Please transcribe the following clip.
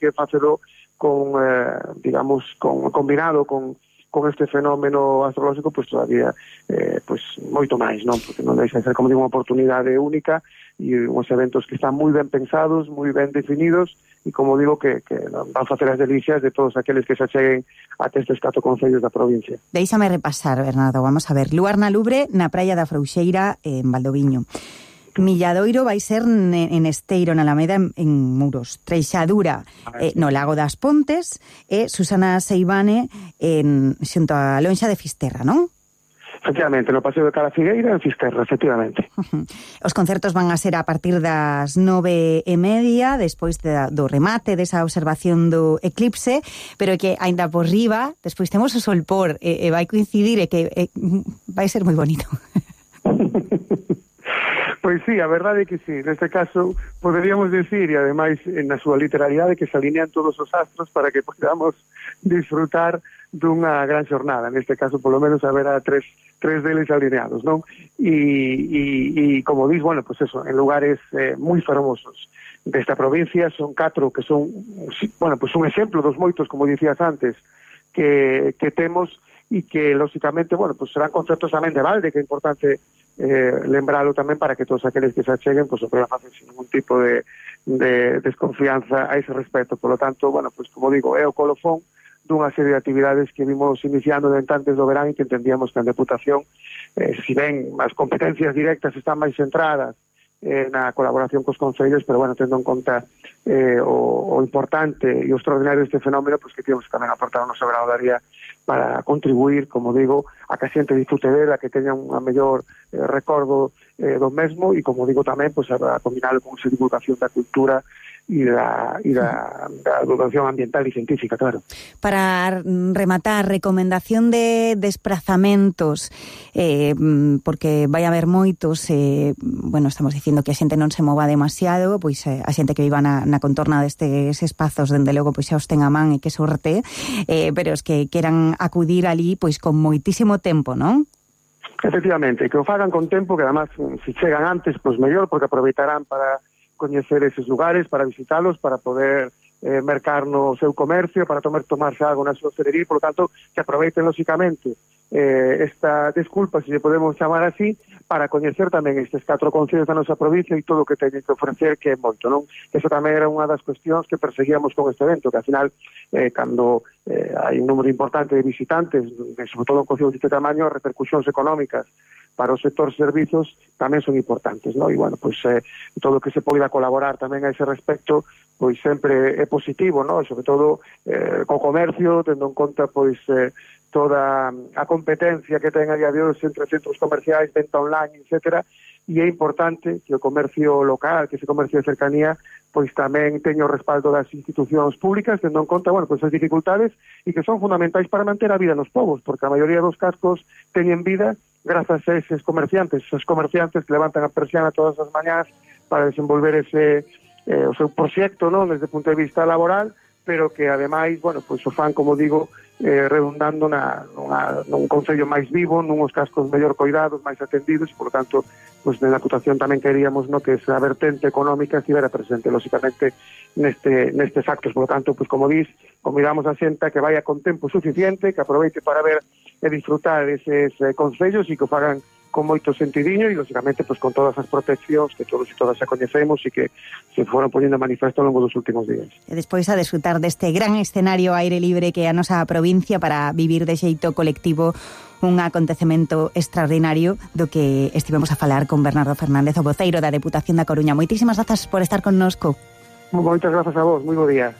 que facelo con, digamos, combinado con este fenómeno astrolóxico, pois todavía moito máis, non? Porque non deixa de ser, como digo, unha oportunidade única e uns eventos que están moi ben pensados, moi ben definidos e, como digo, que van facer as delicias de todos aqueles que se acheguen até estes 4 concellos da provincia. Déixame repasar, Bernardo, vamos a ver. Luar na Lubre, na praia da Frouxeira, en Valdoviño. Milladoiro vai ser en Esteiro, na Alameda, en Muros. Treixadura no Lago das Pontes e Susana Seivane xunto a Lonxa de Fisterra, non? Efectivamente, no Paseo de Carafigueira, en Fisterra, efectivamente. Os concertos van a ser a partir das 9:30, despois do remate desa observación do eclipse, pero que aínda por riba, despois temos o solpor e vai coincidir e que vai ser moi bonito. Pois sí, a verdade é que sí. Neste caso, poderíamos decir, e ademais na súa literalidade, que se alinean todos os astros para que podamos disfrutar dunha gran xornada. Neste caso, polo menos, haberá tres deles alineados, non? E como dis, bueno, pues eso, en lugares moi fermosos desta provincia, son 4 que son, bueno, pues un exemplo dos moitos, como dicías antes, que temos e que, lógicamente, bueno, pues serán concertos tamén de balde, que é importante lembralo tamén para que todos aqueles que se acheguen pues, o poden facer sin ningún tipo de desconfianza a ese respecto. Por lo tanto, bueno, pues como digo, é o colofón dunha serie de actividades que vimos iniciando dentro antes do verán e que entendíamos que a Deputación, si ben as competencias directas están máis centradas na colaboración cos concellos, pero bueno, tendo en conta o importante e o extraordinario deste fenómeno, pues que temos tamén aportar o noso grado de área para contribuir, como digo, a que a xente disfrute dela, que teña un mellor recordo do mesmo e, como digo, tamén pues, a combinarlo con esa divulgación da cultura e da educación ambiental e científica, claro. Para rematar, recomendación de desplazamentos, porque vai haber moitos, bueno, estamos dicindo que a xente non se mova demasiado, pois a xente que viva na contorna destes espazos, dende logo, pois xa os ten a man e que sorte, pero os que queran acudir ali, pois con moitísimo tempo, non? Efectivamente, que o fagan con tempo, que además, se chegan antes, pois mellor, porque aproveitarán para coñecer eses lugares, para visitalos, para poder mercar no seu comercio, para tomarse algo na súa hostelería, por lo tanto, que aproveiten, lógicamente, esta desculpa, se lle podemos chamar así, para coñecer tamén estes 4 concellos da nosa provincia e todo o que teñen que ofrecer, que é moito, non? Eso tamén era unha das cuestións que perseguíamos con este evento, que ao final, cando hai un número importante de visitantes, sobre todo en concellos deste tamaño, as repercusións económicas para o sector servizos tamén son importantes, non? E, bueno, pois todo o que se poida colaborar tamén a ese respecto, pois sempre é positivo, non? Sobre todo co comercio, tendo en conta, pois, toda a competencia que ten a día de hoxe entre centros comerciais, venta online, etcétera, e é importante que o comercio local, que ese comercio de cercanía, pois tamén teña o respaldo das institucións públicas, tendo en conta, bueno, pois as dificultades e que son fundamentais para manter a vida nos povos, porque a maioría dos cascos teñen vida grazas a esos comerciantes que levantan a persiana todas as mañás para desenvolver o seu proxecto, non, desde o punto de vista laboral, pero que ademais, bueno, pois o fan, como digo, redundando nun concello máis vivo, nuns cascos mellor coidados, máis atendidos, e, por tanto, pois na Deputación tamén queríamos, no, que esa vertente económica estivera presente, lógicamente, nestes actos. Por tanto, pois como dis, convidamos a xente que vaya con tempo suficiente, que aproveite para ver e disfrutar eses concellos e que o fagan con moito sentidiño e, lógicamente, pues, con todas as proteccións que todos e todas xa coñecemos e que se foron poñendo en manifesto ao longo dos últimos días. E despois a desfrutar deste gran escenario aire libre que é a nosa provincia para vivir de xeito colectivo un acontecemento extraordinario do que estivemos a falar con Bernardo Fernández, o voceiro da Deputación da Coruña. Moitísimas grazas por estar connosco. Moitas grazas a vos, moi bo día.